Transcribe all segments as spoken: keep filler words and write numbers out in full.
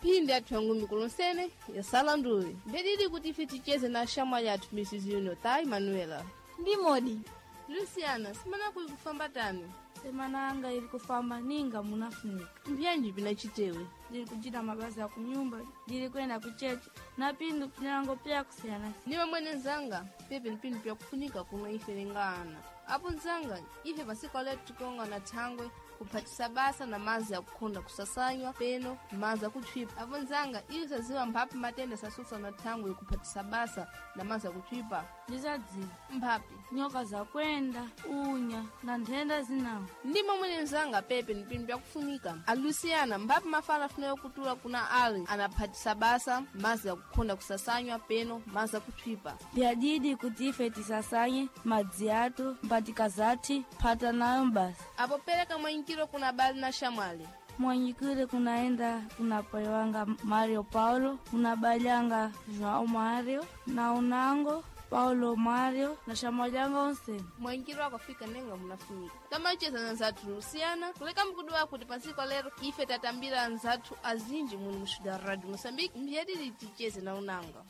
Phindi athu yangu mikulonsene yasala nduwe ndedidi kuti ife ticheze na shamwali athu Mrs Junior Manuela. Ndi modi. Luciana, simana kuyi kufamba tani? Semana anga ili kufamba ninga munafunika. Mbyanji pinachitewe? Ndili kuchita mabasa ya kunyumba, ndili kwenda kuchechi na pindu pinango pya kusiyana. Niwe mwene nzanga, pepe ni pinu pyakufunika kuno ife lingana. Apo nzanga, ife pasika leo tikonga na thangwe kuphatisa basa na mazi akukhonda kusasanywa peno mazi akuthwipa. Apo nzanga, iwe saziwa mphapi matenda sasusa na thangwe kuphatisa basa na mazi akuthwipa. Ndizadziwa. Mphapi. Nyoka zakwenda, unya na nthenda zinawo. Ndimo mwene nzanga pepe ni pinu pyakufunika. Aluciana, mphapi mafala afunayo kutula kuna ali anaphatisa basa mazi akukhonda kusasanywa peno mazi akuthwipa. Byadidi kuti ife tisasanye madzi athu mpatikazati phata nayo basa. Apo pereka mwanyikiro kuna bali na shamwali. Mwanyikile kunaenda kuna pai wanga Mario Paulo, kuna bali anga João Mario na unango Paulo Mario na shamwali anga onse. Mwanyikiro akafika nenga munafunika. Tamacheza na nzathu Luciana, kuleka mkudu wako kuti pasiko lero ife tatambira nzathu azinji muno muxuda Radio Moçambique, mbiyadidi ticheze na unanga.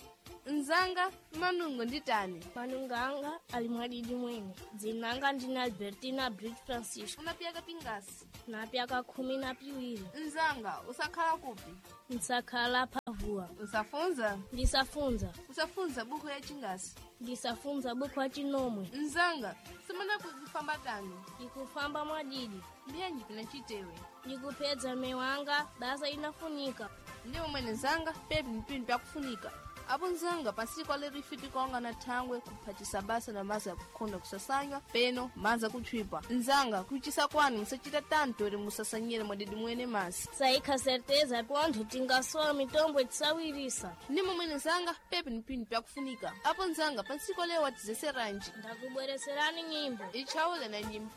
Nzanga manungo nditani? Manungo anga ali mwadidi mwene. Dzinanga ndine Albertina Brit Francisco. Unapiyaka pingasi? Napyaka khumi na piwiri. Nzanga, usakhala kupi? Nsakhala phavuwa. Usafunza? Ndisafunza. Usafunza buku ya chingasi? Ndisafunza buku ya chinomwe. Nzanga, semana kufamba tani? Ikufamba mwadidi. Mbiyanji pinachitewe? Ndikupedza mewanga basa inafunika. Ndiwo mwene nzanga, pepi ni pinu pyakufunika. Apo nzanga pasiko lero ife tikaonga na thangwe kuphatisa basa na mazi akukhonda kusasanywa peno mazi akuthwipa. Nzanga kuchisa kwanu musachita tanto eri musasanyire mwadidi mwene masi. Saikha certeza pontho tingasowa mitombo tisawirisa. Ndimo mwene nzanga pepi ni pinu pyakufunika. Apo nzanga pasiko lero watizeseranji. Ndakubwereserani nyimbo. Ichawule na nyimpa.